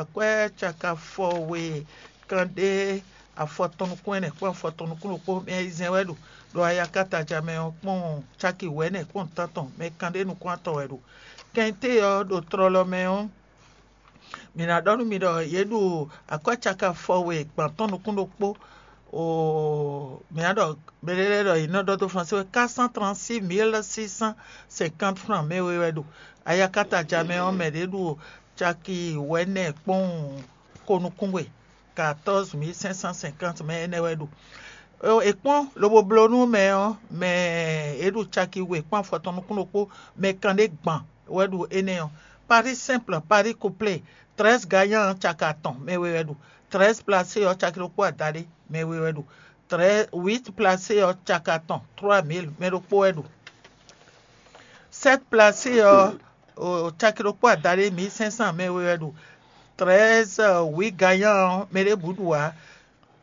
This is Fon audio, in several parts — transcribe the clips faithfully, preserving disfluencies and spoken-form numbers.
Akwɛ́ caki afɔ we kanɖé afɔtɔn nukún ɛnɛ kpɔ́n afɔtɔn nukún ɖokpó mɛ ayizɛ́n wɛ ɖo ɖo ayakataja mɛ ɔ́ kpɔ́n caki wɛ̌nɛ kpɔ́n tántɔn mɛ kanɖé nukún atɔn wɛ ɖo. Kɛnté ɔ́ ɖo tlɔlɔ mɛ ɔ́, mǐ ná ɖɔ nú mi ɖɔ yě ɖu akwɛ́ caki afɔ we gban tɔn nukún ɖokpó oo, mǐ ná ɖɔ mɛɖé lɛ́ɛ ɖɔ yě nɔ ɖɔ dó Fransé wɛ quatre cent trente-six mille six cent cinquante francs mɛ we wɛ ɖo ayakataja mɛ ɔ́, mɛ ɖě ɖu caki wɛ̌nɛ kpɔ́n ko nukún we, quatorze mille cinq cent cinquante mɛ énɛ́ wɛ ɖu. È kpɔ́n lobo bló nú mɛ ɔ́, mɛ e ɖu caki we kpɔ́n afɔtɔn nukún ɖokpó mɛ kanɖé gban wɛ ɖu énɛ́ ɔ́. Paris simple, Paris couplé, treize gagnant caki atɔn mɛ we wɛ ɖu. Treize placé ɔ́ caki ɖokpó adaɖé mɛ we wɛ ɖu. Huit placé ɔ́ caki atɔn trois mille mɛ ɖokpó wɛ ɖu. Sept placé ɔ́ caki ɖokpó adaɖé mille cinq cent mɛ we wɛ ɖu. Treize huit gagnant ɔ́ mɛ ɖěbǔ ɖu ǎ.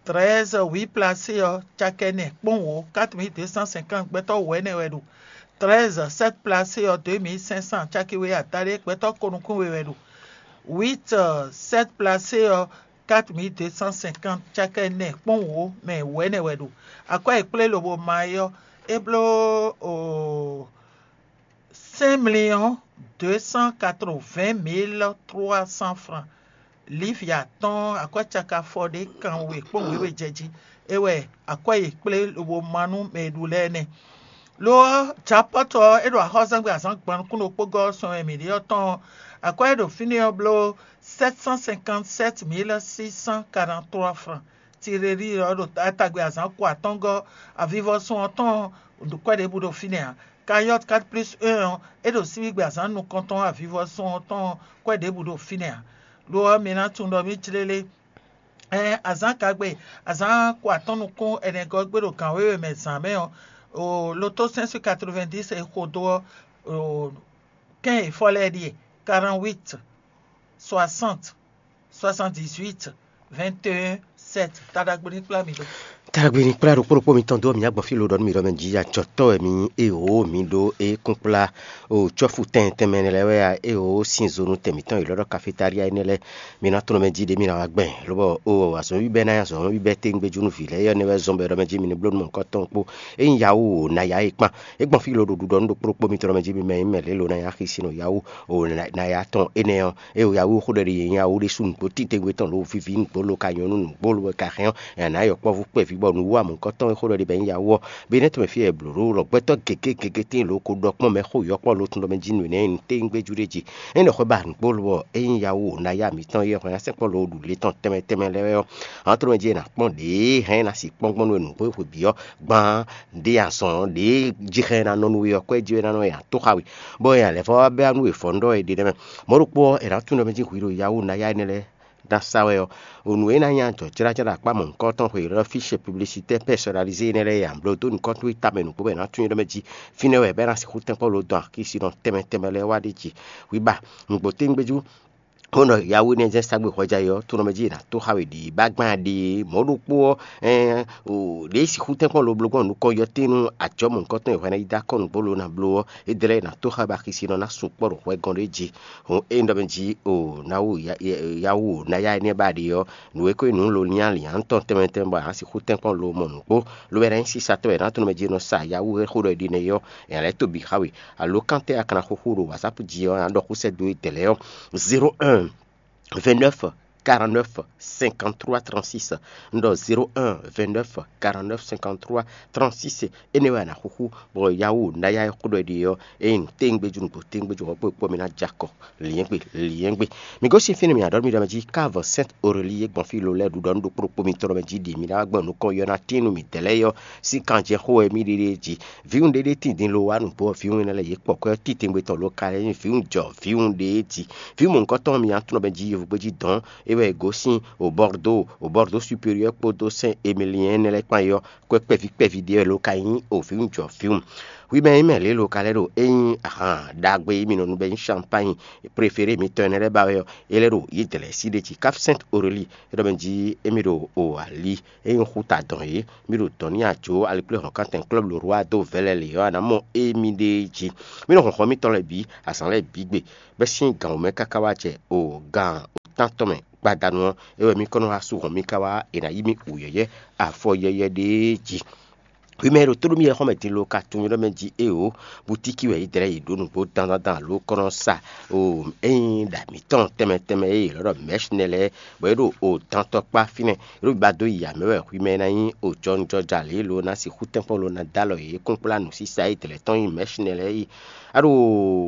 Treize huit placé ɔ́ caki ɛnɛ kpɔ́n wǒ quatre mille deux cent cinquante gbɛtɔ́ wǒ ɛnɛ wɛ ɖu. Treize sept placé ɔ́ deux mille cinq cent caki we adaɖé gbɛtɔ́ ko nukún we wɛ ɖu. Huit sept placé ɔ́ quatre mille deux cent cinquante caki ɛnɛ kpɔ́n wǒ mɛ wǒ ɛnɛ wɛ ɖu. Akwɛ́ e kplé lobo ma é ɔ́, é bló cinq millions deux cent quatre-vingt mille trois cents francs. Livre atɔ́ɔ́n akwɛ́ caki afɔ ɖé kan we kpɔ́n wěwe jɛ jí. É wɛ akwɛ́ e kplé lobo ma nú mɛ e ɖu lɛ́ɛ nɛ́. Lo ɔ́, Japɔ́tu ɔ́, é ɖo axɔ́zɛ́ngbe azǎn gban nukún ɖokpó gɔ́ ɔ́ sɔn wɛ mǐ ɖe ɔ́ tɔn ɔ́, akwɛ́ e ɖo fínɛ́ ɔ́ bló sept cent cinquante-sept mille six cent quarante-trois francs. Tirelíi ɔ́ ɖo tagbe azǎn ko atɔ́ngɔ́ avivɔsun ɔ́ tɔn ɔ́, kwɛ́ ɖěbǔ ɖo fínɛ́ ǎ. Kayɔ́t quatre plus un ɔ́, é ɖo síbígbe azǎn nukɔntɔn avivɔsun ɔ́ tɔn ɔ́, kwɛ́ ɖěbǔ ɖo fínɛ́ ǎ. Lo ɔ́, mi ná tunwun ɖɔ mǐ jlélé. Ɛn azǎn kagbe, azǎn ko atɔ́n nukún ɛnɛgɔ́ gbe ɖo gǎn wěwe mɛ zǎn mɛ ɔ́, loto cinq cent quatre-vingt-dix e xo dó ɔ́, kɛ́n e fɔ lɛ́ɛ ɖíe: quarante-huit, soixante, soixante-dix-huit, vingt et un, sept. Taɖagbe ní kplá mi ɖó. Taɖagbe ní kplá ɖokpó ɖokpó mitɔn dó mǐ agbɔn fí lo ɖɔ nú mǐ ɖɔ mɛ jí acɔtɔ́ wɛ mǐ nyí, ée wǒ mǐ ɖó é kún kplá o cɔ́fu tɛn tɛnmɛ lɛ́ɛ wɛ a, ée wǒ sin zo nú tɛn mǐtɔn e lɔ́ ɖɔ kafetália énɛ́ lɛ́ɛ. Mi ná tlɔ́n mɛ jí ɖě mi ná wá gbɛn, lobɔ o azɔ̌ bíbɛ́ ná nyí azɔ̌ bíbɛ́ téŋgbéjú nú vǐ lɛ́ɛ é ɔ́ nɛ́ wɛ zɔ́n bɔ è ɖɔ mɛ jí mi ní bló nú mɔ̌hunkɔtɔn kpó. Ényí Yawu o naya é kpán, é gbɔn fí lo ɖo ɖuɖɔ nú ɖokpó ɖokpó mitɔn ɖɔ mɛ jí mi mɛ nyí mɛ lě lo ná nyí axi sin nɔ Yawu o naya tɔn énɛ́ ɔ́, é o Yawu xó ɖɔ ɖi yě nyí Yawu ɖésú nǔgbó titewungbe tɔn lo víví nǔgbó lo ka nyɔ́ nú nǔgbó lo ka hɛn ɔ́, è nǎ yɔ kpɔ́vú kpɛví bɔ nǔwú amɔ̌kɔ́tɔn e xó ɖɔ ɖi bɔ é nyí Yawu ɔ́, be nɛ́ tɔn mɛ fí wɛ è blǒ ɖó lɔ gbɛtɔ́ gěgé gěgé tíin lo ko ɖɔ kpɔ́n mɛ xó yɔ̌kpɔ́ lo tun ɖɔ mɛ jí nǔ énɛ́ nyí nǔ téŋgbéjú ɖé jí. É nɔ xwɛ ba nǔgbó lo bɔ é nyí Yawu o naya mǐtɔn e hwɛ ná sɛkpɔ́ lo ɖu le tɔn tɛnmɛ tɛnmɛ lɛ́ɛ wɛ ɔ́, a nǎ tló mɛ jí è nǎ kpɔ́n ɖě hɛn é ná sixú kpɔ́n gbɔn nú we nǔgbó e xwe bǐ ɔ́ gbán. Ɖě azɔn ɖě jixɛ ná nɔ nú we ɔ́, kwɛ́ jí wɛ ná nɔ ya tó xa we, bɔ è nǎ lɛ́ vɔ́ wá bɛ́ nú we vɔ̌nu ɖɔ è ɖe nɛ́ mɛ. Mɔ̌ ɖokpó ɔ́, è nǎ tunwun ɖɔ mɛ jí hwi ɖo Yawu naya énɛ́ lɛ́ɛ ná sa wɛ ɔ́, nǔ e ná nyí ajɔ̌jlájlá akpá mɔ̌hunkɔtɔn xwe ylɔ́ fiche publicitaire personnalisé énɛ́ lɛ́ɛ e a blǒ dó nukɔn towe tamɛ nǔgbó bɔ è nǎ tunwun ɖɔ mɛ jí fínɛ́ wɛ bɔ é ná sixú tɛ́nkpɔ́n lo dɔn akísinɔ tɛnmɛ tɛnmɛ lɛ́ɛ wá ɖ'é jí. Hwi ba nǔgbó téŋgbéjú bó nɔ Yawu énɛ́ jɛ́n sa gbé hwɛjá é ɔ́, tunɔ mɛ jí è nǎ tó xa we ɖě bá gbán ɖe mɔ̌ ɖokpó ɔ́, ɖě sixú tɛ́nkpɔ́n lo bló gbɔn nukɔn yɔtín nú ajɔ̌ mɔ̌hunkɔtɔn e hwɛ ná yi dó akɔ́ nǔgbó lo ná bló ɔ́, é dlɛ́ è nǎ tó xa we bɔ axisinɔ ná sukpɔ́ ɖo hwɛ gɔn ɖé jí. Hǔn ényí ɖɔ mɛ jí o Yawu o naya énɛ́ ba ɖe ɔ́, nǔ e ko nyí nǔ lo lyánlyán tɔn tɛnmɛ tɛnmɛ bɔ a nǎ sixú tɛ́nkpɔ́n lo mɔ nǔgbó, lo wɛ ná nyí sísatɔ́ wɛ è nǎ tunɔ mɛ jí è nɔ sa Yawu e xó ɖɔ è ɖi nɛ́ é ɔ́, è nǎ lɛ́ to bǐ xa we. Alo kan tɛ́ a ka ná xúxú ɖo WhatsApp jí ɔ́, a nǎ ɖɔ xúsɛ́ dó édɛɛ lɛ́ɛ ɔ́: zéro un vingt-neuf quarante-neuf cinquante-trois trente-six. Un ɖɔ zéro un vingt-neuf quarante-neuf cinquante-trois trente-six. Énɛ́ wɛ a nǎ xúxú bɔ Yawu naya e xó ɖɔ è ɖe ɔ́, ényí nǔ téŋgbéjú nǔgbó téŋgbéjú hɔn kpó kpó mi ná jɛ akɔ. Lyɛ̌ngbe, lyɛ̌ngbe. Mi gosín fínɛ́ mi aɖɔ̌ mi ɖɔ mɛ jí ká vɔ Sɛ́nt Orelíi e gbɔn fí lo lɛ́ɛ ɖu ɖɔ nú ɖokpó ɖokpó mitɔn ɖɔ mɛ jí ɖi mi ná wá gbɔn nukɔn yɔ ná tín nú midɛɛ lɛ́ɛ ɔ́ sín kanjɛxó wɛ mì ɖe ɖe jí. Vǐwun ɖé ɖé tín din lo wá nǔgbó ɔ́, vǐwun énɛ́ lɛ́ɛ yě kpɔ kwɛ́ ɔ́ titewungbe tɔn lo ka lɛ́ nyí vǐwun jɔ vǐwun ɖé jí. Vǐwun mɔ̌hunkɔtɔn ɔ́, mi ná tunɔ mɛ jí yovogbe jí dɔ̌n, é wɛ è gosín o Bɔrdó, o Bɔrdó superiɔ́ kpódó Sɛ́n Emiliɛn énɛ́ lɛ́ɛ kpán é ɔ́, kwɛ́ kpɛví kpɛví ɖé wɛ lo ka nyí o vǐwun jɔ vǐwun. Hwi mɛ e nyí mɛ lě lo ka lɛ́ ɖo é nyí ahan ɖagbe e mì nɔ nu bɔ é nyí champagne préféré mitɔn énɛ́ lɛ́ɛ ba wɛ ɔ́, é lɛ́ ɖo yědɛlɛ̌ sí ɖé jí. Cap Sainte Aurélie é ɖɔ mɛ jí émí ɖo o ali é nyí xú ta dɔn é, mì ɖo dɔ̌n n'i ajo alikpléhɔ̌nkántɛn klɔ́blu Rwa dó vɛlɛ lě ɔ́, a nǎ mɔ émí ɖée jí. Mì nɔ hlɔ̌nhlɔ́n mitɔn lɛ́ɛ bǐ azǎn lɛ́ɛ bǐ gbe, bɛ́ sín gǎn wǒ mɛ káká wá jɛ o gan tántɔn mɛ gbadanu ɔ́, é wɛ mì kɔn nɔ wá sú hɔn mì ká wá è nǎ yí mì wǔyɛ́yɛ́ afɔ yɛyɛ ɖé jí. Hwi mɛ e ɖo tóɖó mì yɛxɔ́ mɛ din lo ka tunwun ɖɔ mɛ jí éeǒ, butíki wɛ yě dlɛ́ yě ɖó nǔgbó dandandan alo kɔ́ nɔ sa o ényí ɖa mǐtɔn tɛnmɛ tɛnmɛ e yě lɔ́ ɖɔ mɛ̌shinɛ lɛ́ɛ, bɔ é ɖo o dantɔkpá fínɛ́, é ɖo biba dó yi amɛ wɛ hwi mɛ e ná nyí o jɔnjɔja lě lo ná sixú tɛ́nkpɔ́n lo ná dó alɔ yě kúnkplá nǔsísá e dlɛ̌ tɔn nyí mɛ̌shinɛ lɛ́ɛ é. A ɖo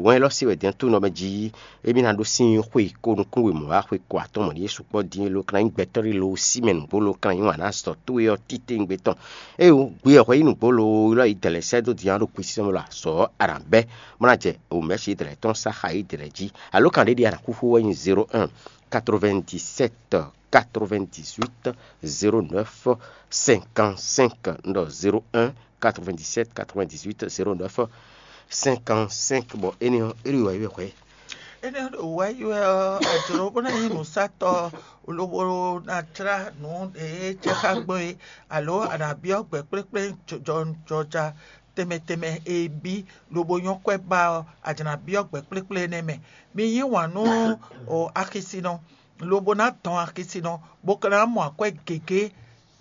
wɛn élɔ́ se wɛ din tunwun ɖɔ mɛ jí émí ná ɖó sín xwe ko nukúnwe mɔ̌ wá xwe ko atɔn mɔ̌ ɖíe sukpɔ́ din é lo kan nyí gbɛtɔ́ ɖé lo sí mɛ nǔgbó lo kan nyí wǎn ná azɔ̌ towe ɔ́ títewungbe tɔn. Ée wú gbe ɔ́ hwɛ yí nǔgbó lo ylɔ́ yi dɛ̌lɛ̌ sɛ́ dó din ɔ́ ɖo kpisísɛ́n mɛ lo azɔ̌ ɔ́ a nǎ bɛ́, bó ná jɛ wǒmɛ́sí dɛ̌lɛ̌ tɔn sá xa yí dɛ̌lɛ̌ jí. Alo kan ɖé ɖi a nǎ xúxú wɛ nyí zéro un, quatre-vingt-dix-sept, quatre-vingt-dix-huit, zéro neuf, cinquante-cinq. Un ɖɔ zéro un, quatre-vingt-dix-sept, quatre-vingt-dix-huit, zéro neuf, cinquante-cinq. Bɔ énɛ́ ɔ́, é ɖo wɛ yi wɛ hwɛ. Énɛ́ ɖo wɛ yi wɛ ɔ́, a jlǒ bó ná nyí nǔsatɔ́ lobo ná jlá nǔ e jɛ xá gbɔn é, alo a nǎ byɔ́ gbɛ̌ kplékplé jɔjɔja tɛnmɛ tɛnmɛ e bí lobo nyɔ́ kwɛ́ ba ɔ́, a jlǎ byɔ́ gbɛ̌ kplékplé énɛ́ mɛ. Mi yí wǎn nú o axisinɔ, lobo ná dɔn axisinɔ, bó ka ná mɔ akwɛ́ gěgé.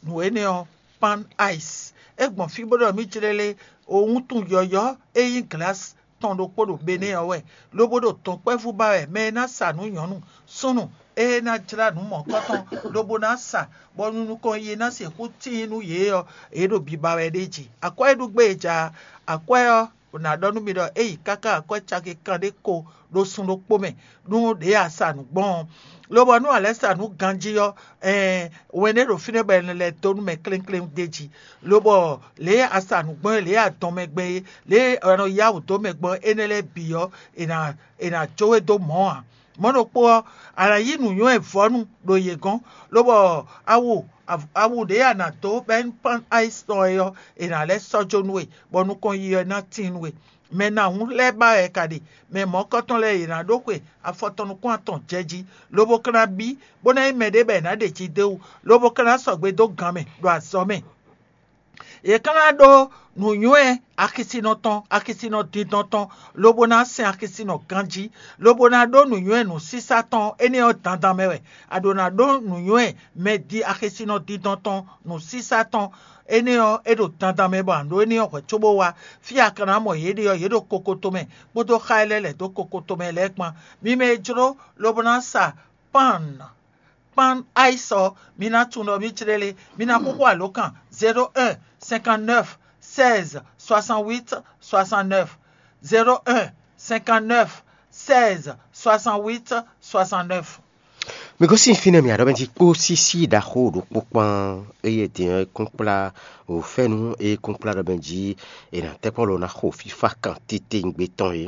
Nǔ énɛ́ ɔ́, pan ice. É gbɔn fí bó ɖɔ mì jlélé, o wuntun yɔ̌yɔ́ e nyí glǎs tɔn ɖokpó ɖo Benɛ́ɛ ɔ́ wɛ, lobo ɖo dɔ̌nkpɛvú ba wɛ mɛ e ná sa nǔ nyɔ̌nu súnnu e ná jlá nǔ mɔ̌kɔtɔn lobo ná sa, bɔ nukɔn yi ná sixú tíin nú yě ɔ́, yě ɖo biba wɛ ɖ'é jí. Akwɛ́ e ɖu gbé e ja akwɛ́ ɔ́, ná ɖɔ nú mi ɖɔ é yi káká akwɛ́ caki kanɖé ko ɖo sun ɖokpó mɛ, nú ɖě a sa nǔ gbɔn ɔ́. Lobɔ nú a lɛ́ sa nǔ ganjí ɔ́, ɛɛn, wɛn ɖé ɖo fínɛ́ bɔ è nɔ lɛ́ dó nú mɛ klénkléŋ d'é jí. Lobɔ lě e a sa nǔ gbɔn é, lě e a dɔn mɛ gbɛn é, lě e è nɔ yá wǔ dó mɛ gbɔn énɛ́ lɛ́ɛ bǐ ɔ́, è nǎ è nǎ jó we dó mɔ̌ ǎ. Mɔ̌ ɖokpó ɔ́, a nǎ yí nǔnywɛ́ vɔ́nu ɖo yě gɔ́n, lobɔ awu awu ɖě a nǎ dó bɔ é nyí pan ayis tɔn é ɔ́, è nǎ lɛ́ sɔ́ jó nú we, bɔ nukɔn yi ɔ́ ná tíin nú we. Mɛ nahún lɛ́ɛ ba wɛ è ka ɖe, mɛ mɔ̌kɔtɔn lɛ́ɛ yě ná ɖó xwe afɔ tɔn nukún atɔn jɛ jí, lobo ka ná bí, bó ná nyí mɛɖé bɔ è nǎ ɖe jí d'é wú, lobo ka ná sɔgbe dó gan mɛ ɖo azɔ̌ mɛ. Yě ka ná ɖó nǔnywɛ́ axisinɔ tɔn, axisinɔ dindɔn tɔn, lobo ná sɛn axisinɔ ganjí, lobo ná ɖó nǔnywɛ́ nǔsísá tɔn énɛ́ ɔ́ dandan mɛ wɛ. A ɖǒ ná ɖó nǔnywɛ́ mɛ di axisinɔ dindɔn tɔn nǔsísá tɔn énɛ́ ɔ́, é ɖo dandan mɛ bɔ a nǎ ɖó énɛ́ ɔ́ hwɛ̌ cóbó wá. Fí e a ka ná mɔ yě ɖe ɔ́, yě ɖo kokoto mɛ, kpódó xá e lɛ́ lɛ̌ dó kokoto mɛ lɛ́ɛ kpán. Mi mɛ e jló lobo ná sa pan pan ayis ɔ́, mi ná tunwun ɖɔ mì jlélé, mi ná xúxú alǒkan zéro un cinquante neuf seize soixante huit soixante neuf, zéro un cinquante neuf seize soixante huit soixante neuf. Mi gosín fínɛ́ mì aɖɔ́ mɛ jí kpó sísí ɖaxó ɖokpó kpán, eye din ɔ́ kún kplá o fɛ́nú e kún kplá ɖɔ mɛ jí è nǎ tɛ́ kpɔ́n ló ná xo fífá kan titewungbe tɔn é.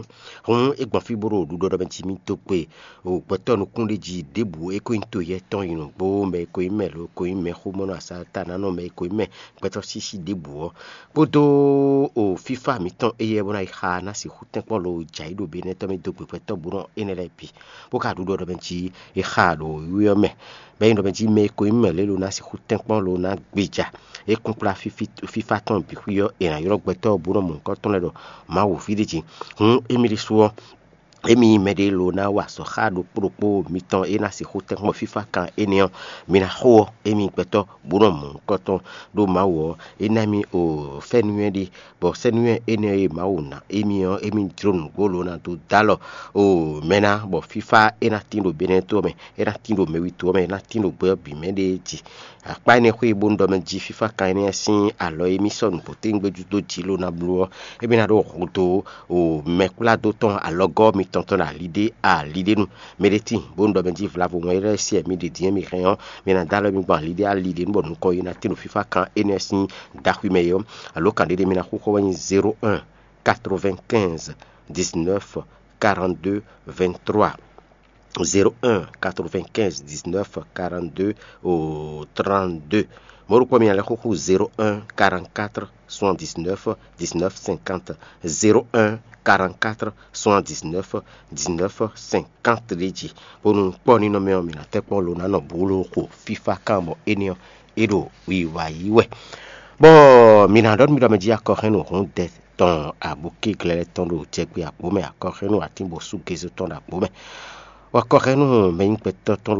Hǔn é gbɔn fí bó ɖo ɖuɖɔ ɖɔ mɛ jí mì dó gbe o gbɛtɔ́ nukúnɖéjí ɖěbǔ é ko nyí toyɛ́ tɔn yi nǔgbó, mɛ e ko nyí mɛ lo ko nyí mɛxómɔnɔ asatanánɔ, mɛ e ko nyí mɛ gbɛtɔ́ sísí ɖěbǔ ɔ́, kpódó o fífá mǐtɔn éyɛ́ bó ná yi xa ná sixú tɛ́nkpɔ́n lo jǎ yi ɖo Benɛ́ tɔn mì dó gbe gbɛtɔ́ búnɔ énɛ́ lɛ́ɛ bǐ, bó ka ɖu ɖɔ ɖɔ mɛ jí è xa ɖo wíwí ɔ́ mɛ. Bɔ é nyí ɖɔ mɛ jí mɛ e ko nyí mɛ lě lo ná sixú tɛ́nkpɔ́n lo ná gbéja é kún kplá fífá tɔn bǐ xwí ɔ́, è nǎ ylɔ́ gbɛtɔ́ búnɔ mɔ̌hunkɔtɔn lɛ́ɛ ɖɔ Mawu ví ɖé jí. Hǔn émí ɖésú ɔ́, émí mɛɖé lo ná wa azɔ̌ xá ɖokpó ɖokpó mitɔn e ná sixú tɛ́nkpɔ́n fífá kan énɛ́ ɔ́, mi ná xo ɔ́, émí gbɛtɔ́ bó nɔ mɔ nukɔntɔn ɖó Mawu ɔ́, é ná émí o fɛ́núnywɛ́ ɖé, bɔ sɛ́núnywɛ́ énɛ́ e Mawu ná émí ɔ́, émí jló nǔgbó lo ná dó dó alɔ o mɛ ná, bɔ fífá é ná tín ɖo Benɛ́ to ɔ́ mɛ, é ná tín ɖo mɛwító ɔ́ mɛ, é ná tín ɖo gbɛ ɔ́ bǐ mɛ ɖée jí. Akpá énɛ́ xwé bó un ɖɔ mɛ jí fífá kan énɛ́ sín alɔ e mì sɔ́ nǔgbó téwúngbéjú dó jǐ lo ná bló ɔ́, émí ná ɖó hudó o mɛkpládó tɔn alɔgɔ́ mitɔn tɔn ɖo ali ɖé ali ɖé nu. Mɛ ɖé tíin bó un ɖɔ mɛ jí vlavo wɛn élɔ́ e sí wɛ mi ɖe din e mi hɛn ɔ́, mi ná dó alɔ mi gbɔn ali ɖé ali ɖé nu bɔ nukɔn yi ná tín ɖo fífá kan énɛ́ sín daxwi mɛ é ɔ́. Alo kan ɖé ɖé mi ná xúxɔ wɛ nyí zéro un quatre-vingt-quinze dix-neuf quarante-deux vingt-trois. zéro un quatre-vingt-quinze dix-neuf quarante-deux au trente-deux. Mɔ̌ ɖokpó mi ná lɛ́ xúxú zéro un quarante-quatre soixante-dix-neuf dix-neuf cinquante, zéro un quarante-quatre soixante-dix-neuf dix-neuf cinquante ɖé jí, bónú kpɔ́ nínɔ́ mɛ ɔ́, mǐ ná tɛ́ kpɔ́n lo ná nɔ bló xo fífá kan bɔ énɛ́ ɔ́, é ɖo wiwa yí wɛ. Bɔ mǐ ná ɖɔ nú mi ɖɔ mɛ jí akɔxɛ́nú hǔn dɛ tɔn abukí glɛ́lɛ́ tɔn ɖo jɛgbé àgbo mɛ, akɔxɛ́nú atínbosú gézó tɔn ɖo àgbo mɛ, bɔ akɔxɛ́nú mɛ nyí gbɛtɔ́ tɔn